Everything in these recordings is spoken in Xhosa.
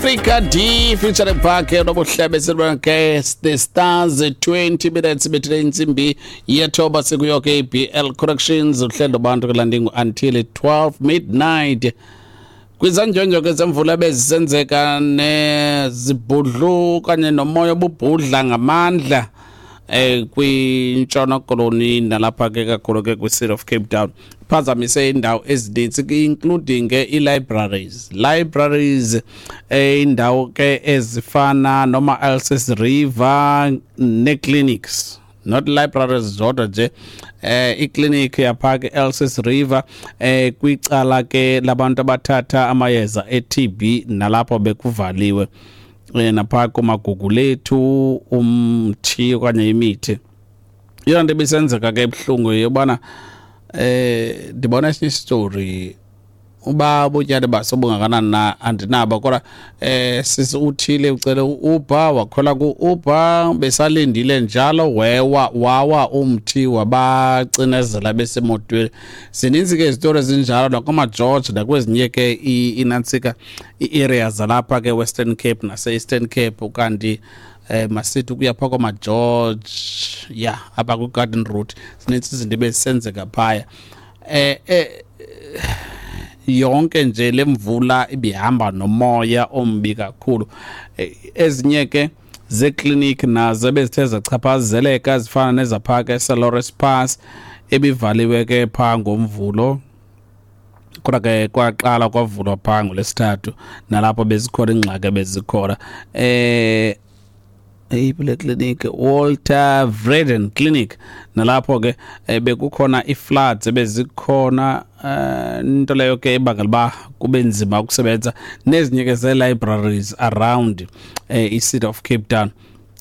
Africa D featuring Parker nobuhlebe ke The Stars. 20 minutes bethile intsimbi yethoba, sikuyo ke BL Corrections, uhlelo bantu kulandingo until 12 midnight. Kwizandyondyo ke zemvula bezisenzeka nezibhudlu kanye nomoya obubhudla ngamandla kwintshona koloni nalapha ke kakhulu ke kwi-City of Cape Town, phazamise indawo ezininzi, including ke i-libraries libraries indawo ke ezifana noma Elsies River ne-clinics, not libraries zodwa nje, iclinic yapha ke Elsies River, kwicala ke labantu abathatha amayeza e-TB, nalapho bekuvaliwe, napha kumagugu lethu umthi okanye imithi. Yona nto ebisenzeka ke ebuhlungu yobana ndibona esinye isitori uba ubutyali basobungakanani na andinabo, kodwa sisi uthile ucele u-Uber, wakhwela ku-Uber, besalindile njalo wewa, wawa umthi wabacinezela besemotweni. Zininzi ke izitori ezinjalo nakoomaGeorge nakwezinye ke inantsika ii-areas zalapha ke Western Cape nase-Eastern Cape. Kanti masithi ukuya phaa kwamaGeorge ya apha kwi-Garden Route, zininzi izinto ebezisenzeka phaya. Yonke nje le mvula ibihamba nomoya ombi kakhulu. Ezinye ke zeekliniki nazo ebezithe zachaphazeleka zifana nezapha ke eSelorus Pass, ebivaliwe ke phaa ngoMvulo, kodwa ke kwaqala kwavulwa phaa ngoLwesithathu, nalapho bezikhona iingxaki ebezikhona. Eyiphi le clinic? Walter Vreden Clinic, nalapho ke bekukhona ii-floods ebezikhona, into leyo ke ebangela uba kube nzima ukusebenza. Nezinye ke zee-libraries around i-City of Cape Town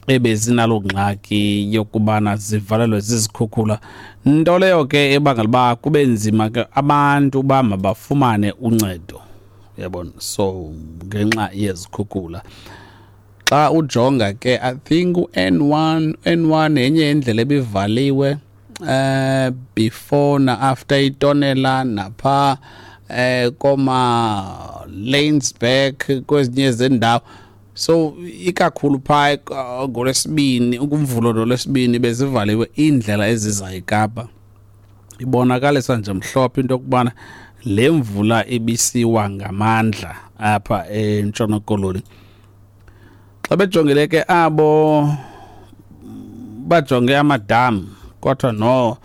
ebezinaloo ngxaki yokubana zivalelwe zizikhukhula, nto leyo ke ebangela uba kube nzima ke abantu uba mabafumane uncedo, uyabona. So ngenxa yezikhukhula, xa ujonga ke, I think u-N1, N1 yenye indlela ebivaliwe before na after itonela napha koma Laingsburg, kwezinye zendawo. So ikakhulu phaa ngoLwesibini, ukumvulo nolwesibini, bezivaliwe iindlela eziza eKapa. Ibonakalisa nje mhlophe into yokubana le mvula ibisiwa ngamandla apha eNtshona Koloni. Xa bejongile ke abo bajonge amadam, kodwa no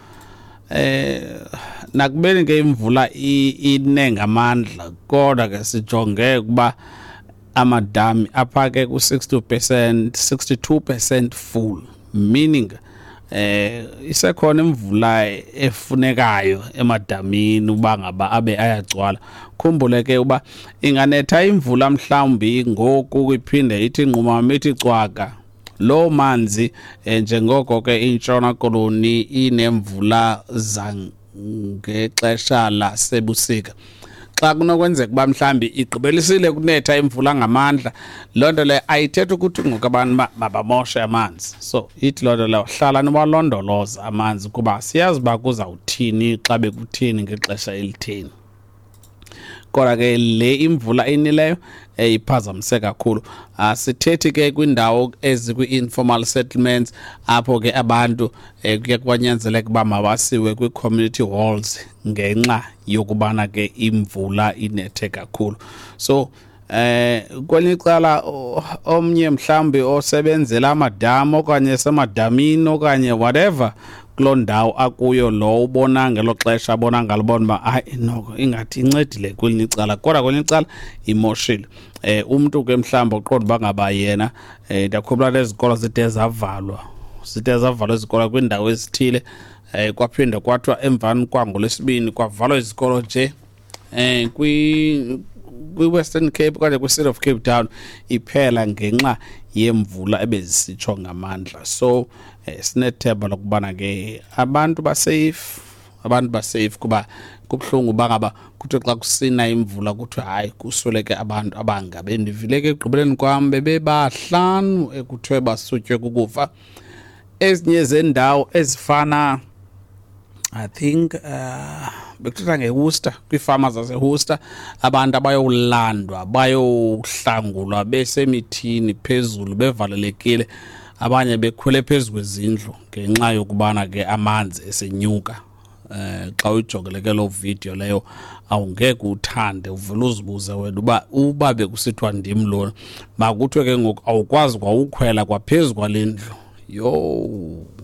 nakubeni ke imvula ine ngamandla, kodwa ke sijonge ukuba amadami apha ke ku-60%, 62% full, meaning isekhona imvula efunekayo emadamini uba ngaba abe ayagcwala. Khumbule ke uba inganetha imvula mhlawumbi ngoku, iphinde ithi nqumama, ithi cwaka loo manzi, njengoko ke iNtshona Koloni inemvula zangexesha lasebusika. Xa kunokwenzeka uba mhlawumbi igqibelisile kunetha imvula ngamandla, loo nto leyo ayithethi ukuthi ngoku abantu mabamoshe amanzi. So ithi loo nto leyo hlala niwalondoloza amanzi, kuba siyazi uba kuzawuthini xa bekuthini ngexesha elitheni. Kodwa ke le imvula inileyo iphazamise kakhulu. Asithethi ke kwindawo ezikwi-informal settlements, apho ke abantu kuye kwanyanzeleka uba mabasiwe kwii-community halls ngenxa yokubana ke imvula inethe kakhulu. So kwelinye icala, omnye mhlawumbi osebenzela amadama okanye semadamini okanye whatever kuloo ndawo akuyo, lo ubona ngelo xesha abona ngalo, bona uba hayi, noko ingathi incedile kwelinye icala, kodwa kwelinye icala imoshile. Umntu ke mhlawumbi uqonda uba ngaba yena, ndiyakhumbula nezikolo zide zavalwa izikolo kwiindawo ezithile, kwaphinda kwathiwa emvani kwangolwesibini kwavalwa izikolo nje kwi-Western Cape okanye kwi-City of Cape Town iphela ngenxa yemvula ebezisitsho ngamandla. So sinethemba lokubana ke abantu basafe, abantu basafe, kuba kubuhlungu uba ngaba kuthiwe xa kusina imvula kuthiwe hayi, kusweleke abantu abangabe. Ndivile ke ekugqibeleni kwam bebebahlanu ekuthiwe basutywe kukufa. Ezinye zendawo ezifana, I think Bekuthethwa ngeWorcester, kwiifama zaseWorcester, abantu abayolandwa bayohlangulwa besemithini phezulu bevalelekile, abanye bekhwele phezu kwezindlu ngenxa yokubana ke amanzi esenyuka. Xa uyijongele ke loo video leyo awungeke uthande, uvele uzibuze wena uba bekusithiwa ndim lona, makuthiwe ke ngoku awukwazi kwawukhwela kwaphezu kwale ndlu. Yho!